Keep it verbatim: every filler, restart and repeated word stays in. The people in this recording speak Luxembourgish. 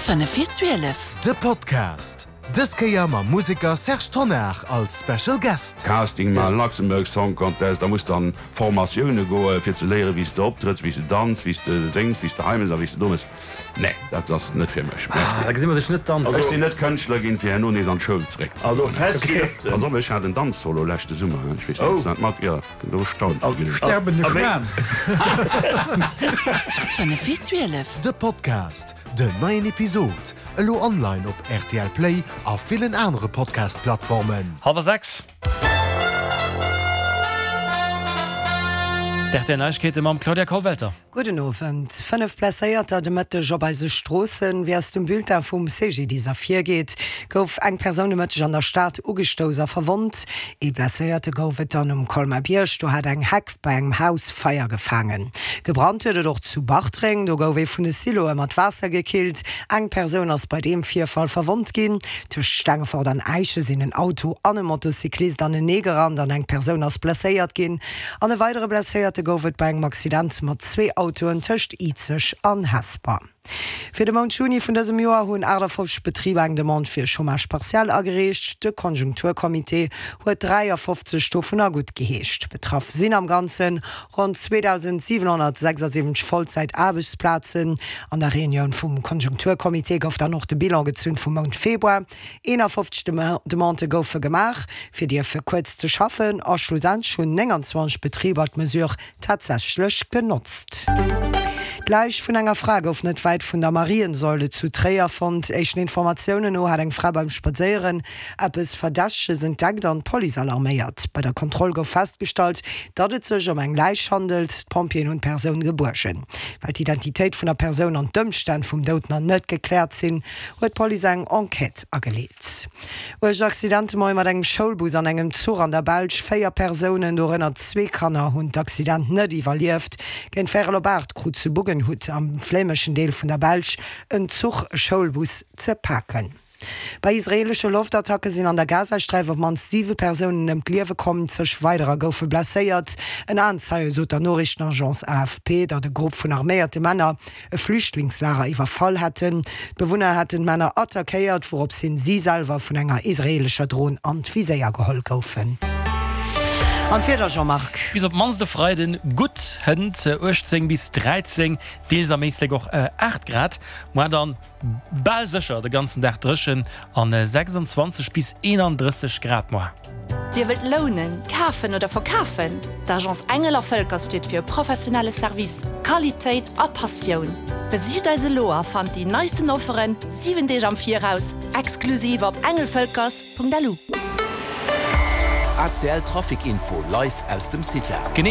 Fënnef vir zwielef. De Podcast. Dës Kéier mam Museker Serge Tonnar als Special Guest. Casting maachen, Luxembourg Song Contest, da muss dann Formatioune goe fir ze léiere wéi s de optrëtts, wéi s de danz, wéi s de séngs, wéi s de hei mëss a wéi s de do mëss. Nee, dat ass net fir mech. Merci. Ah, da gesi mer dech net danzen. Ech sinn net Kënschtler ginn, fir herno nees an d'Schoul zeréck ze Also goen. fest steet. Pass op, ech hat en Danzsolo leschte Summer, ech weess net, ob s de dat mat, jo, do stauns de genuch. Sterbende Schwan. Fënnef vir zwielef. De Podcast, den neien Episod, elo online op R T L Play a villen anere Podcast-Plattformen. Hallwer sechs. D R T L Neiegkeete mam Claudia Kollwelter. Gudden Owend. Fënnef Blesséierter de Mëtteg op eise Stroossen. Wéi aus dem Bulletin vum C G D I S ervirgeet, gouf eng Persoun de Mëtteg an der Stad ugestouss a verwonnt. Ee Blesséierte gouf et dann um Colmar-Bierg, do hat eng Heck bei engem Haus Feier gefaangen. Gebrannt huet et och zu Bartreng, do gouf ee vun de Siloe mat Waasser gekillt. Eng Persoun ass bei deem Virfall verwonnt ginn. Tëscht Stengefort an Äischen sinn en Auto an e Motocyclist aneneegerannt an eng Persoun ass blesséiert ginn. An e weidere Blesséierte gouf et bei engem Accident mat zwee Autoen tëscht Izeg an Hesper. Fir de Mount Juni vun dësem Joer hunn achtafofzeg Betriber eng Demande fir Chômage partiel agereecht. De Konjunkturcomité huet dräiafofzeg dovunner guttgeheescht. Betraff sinn am Ganze ronn zweedausentsiwenhonnertsechsasiwwenzeg Vollzäitaarbechtsplazen. An der Reunioun vum Konjunkturcomité gouf dann och de Bilan gezunn vum Mount Februar. Eenafofzeg Demandë goufe gemaach, fir dierfe kuerz ze schaffen, a schlussendlech hunn nénganzwanzeg Betriber d'Mesure tatsächlech genotzt. D'Läich vun enger Fra gouf net wäit vun der Mariensäule zu Tréier fonnt. Éischten Informatiounen no hat eng Fra beim Spadséieren eppes Verdächteges entdeckt an d'Police alarméiert. Bei der Kontroll gouf festgestallt, datt et sech ëm eng Läich handelt. D'Pompjeeën hunn d'Persoun gebuergen. Well d'Identitéit vun der Persoun an d'Ëmstänn vum Doud nach net gekläert sinn, huet d'Police eng Enquête ageleet. Uerg Accident de Moie mat engem Schoulbus an engem Zuch an der Belsch. Véier Persounen, dorënner zwee Kanner, hunn d'Accident net iwwerlieft. Géint véierel op aacht krut zu Buggenhout am flämeschen Deel vun der Belsch en Zuch e Schoulbus ze paken. Bei israeelesche Loftattacke sinn an der Gazasträif op d'mannst siwe Persounen ëm d'Liewe komm, zeg weiderer goufe blesséiert. En Aenzeie sot der Noriichtenagence A F P, datt e Grupp vun arméierte Männer e Flüchtlingslager iwwerfall hätten. D'Bewunner hätten d'Männer attackéiert, wouropshin si selwer vun enger israeelescher Dron an d'Viséier geholl goufen. An d'Wieder, Jean-Marc. Bis op d'mannst de Freiden gutt Hënt, uechtzéng bis dräizéng, deels am Éislek och aacht Grad. Muer dann bal sécher de ganzen Dag dréchen an sechsanzwanzeg bis eenandrësseg Grad muer. Dir wëllt lounen, kafen oder verkafen? D'Agence Engel a Völkers steet fir e professionelle Service, Qualitéit a Passioun. Besicht eis elo a fannt déi neisten Offeren siwen Deeg am Viraus, exklusiv op engelvölkers Punkt lu. A C L Trafic Info live aus dem Cita. Genee.